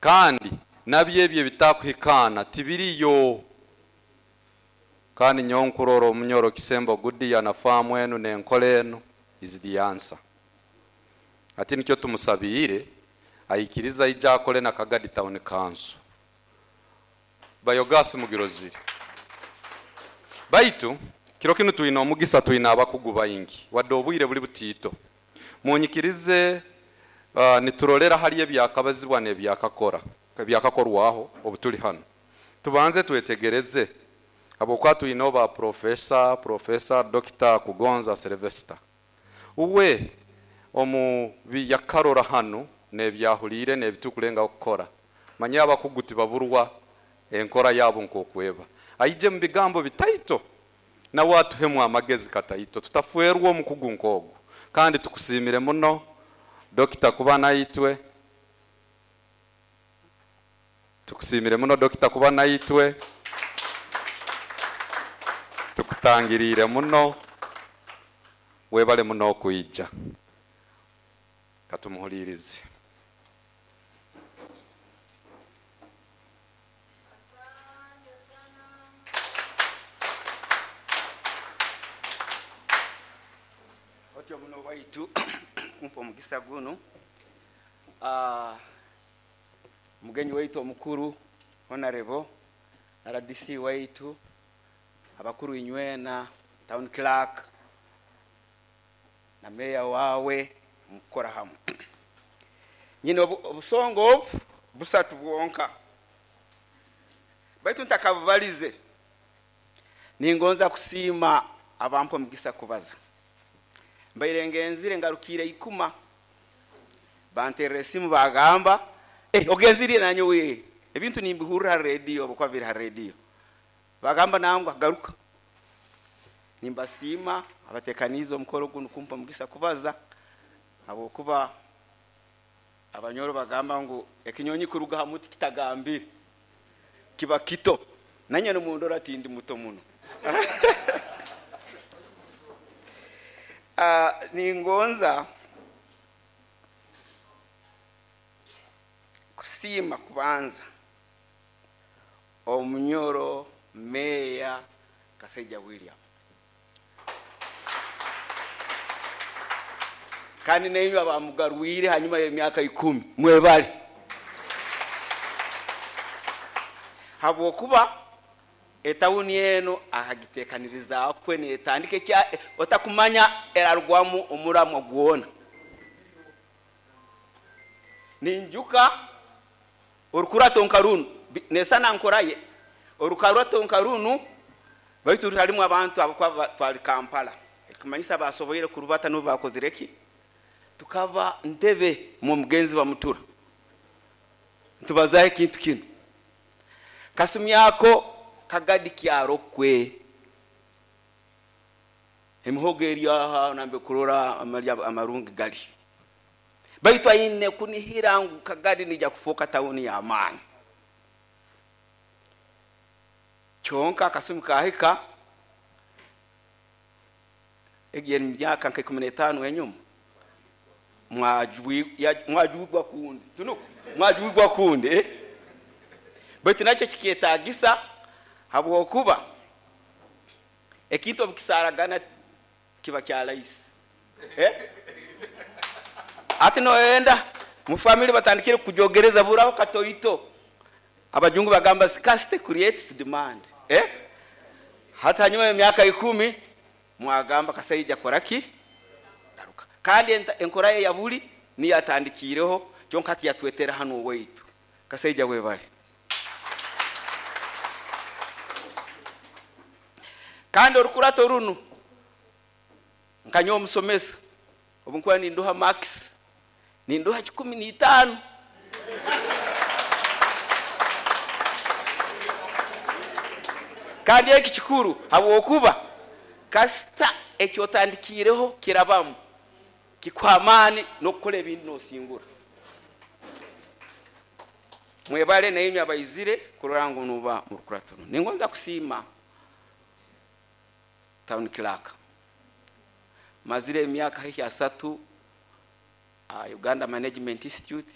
Kandi nabyo ebyo ebitakuhikaana tibiriyo. Kandi nyowe nkurora Omunyoro Kisembo Gudiya na faamu enu n'enkora enu is the answer. Hati nikyo tumusabiire aikirize aije akole na Kagadi Town Council. Biogas mugirozire. Baitu kiro kinu twine omugisa, twine abakugu baingi, wadde obwire buli butiito. Munyikirize niturolera hali ebyakabazibwa n'ebyakakora, ebyakakorwaho obu tuli hanu. Tubanze twetegereze habwokuba twineho ba professor, Professor Dr. Kugonza Sylvester. Uwe omu biyakarora hanu n'ebyahuliire n'ebitukulengaho kukora. Manya abakugu tibaburwa enkora yabo nk'okweba. Aije mu bigambo bitaito nawe atuhemu amagezi kataito tutafwerwa omukugu nk'ogu. Kandi tukusiimire muno Dokita kuba naitwe. Tukusiimire muno Dokita kuba naitwe. Tukutangiriire muno. Webale muno okwija. Katumuhuliirize. Otyo muno waitu kumpa omugisa gunu. Mugenyi waitu omukuru Honorable RDC waitu, abakuru inywena, town clerk na meya wawe mukukora hamwe. Nyine obusonga obu busatu bwonka, baitu ntakabubalize ningonza kusiima abampa omugisa kubaza. Mbaire ngenzire ngarukiire ikuma, banterera esimu bagamba, ogenzire nanyowe ebintu nimbihurra ha radio, obukuba biri ha radio. Bagamba nangwa garuka. Nimbasiima abatekaniize omukoro gunu kumpa omugisa kubaza, habwokuba abanyoro bagamba ngu ekinyonyi kuruga ha muti kitagambire kiba kito. Nanye nomundora tindi muto muno. Ningonza kusiima kubanza Omunyoro Meya Kasaija William. Kandi nainywe abamugarwire hanyuma y'emyaka 10 mwebale, habwokuba etawuni eno akagitekanirizaakwe netandika ekya otakumanya erarugwamu omuramwa gwona. Ninjuka orukurato nka runu nesana nkoraye orukarato nka runu, baitu rutalimu abantu abakuba twali Kampala, ekumanyisa basoboire kurubata n'obu bakozire ki, tukaba ntebe mu mugenzi bamutura ntubazaho ekintu kinu. Kasumi ako Kagadi kyarokwe emihogo eri aha nambe kurora amalya amarungi gali, baitu aine kunihira ngu Kagadi nija kufoka tawuni ya maani. Kyonka akasumi kahika egi emyaka nka 15 enyuma, mwajwigwa kundi tunuku mwajwigwa kundi Baitu nakyo kikyetagisa, habwokuba ekintu obukisaragana kiba kya rahisi. Ati noyenda mu family batandikire kujogereza buraho katoito. Abajungu bagamba scarcity creates demand. Hata hanyuma y'emyaka 10 mwagamba Kasaija koraki garuka. Kandi enkora ye ya buli niyo atandikiireho, kyonka hati yatwetera hanu owaitu. Kasaija webale. Kandi orukurato runu nkanyowe omusomesa obu nkuba ninduha max ninduha 15. Kandi eki kikuru habwokuba kasita ekyotandikiireho kirabamu kikuha amaani n'okukora ebindi n'osingura. Mwebale nainywe abaizire kurora ngu nuba murukurato runu. Ningonza kusiima town clerk. Mazire emyaka haihi 3 Uganda Management Institute.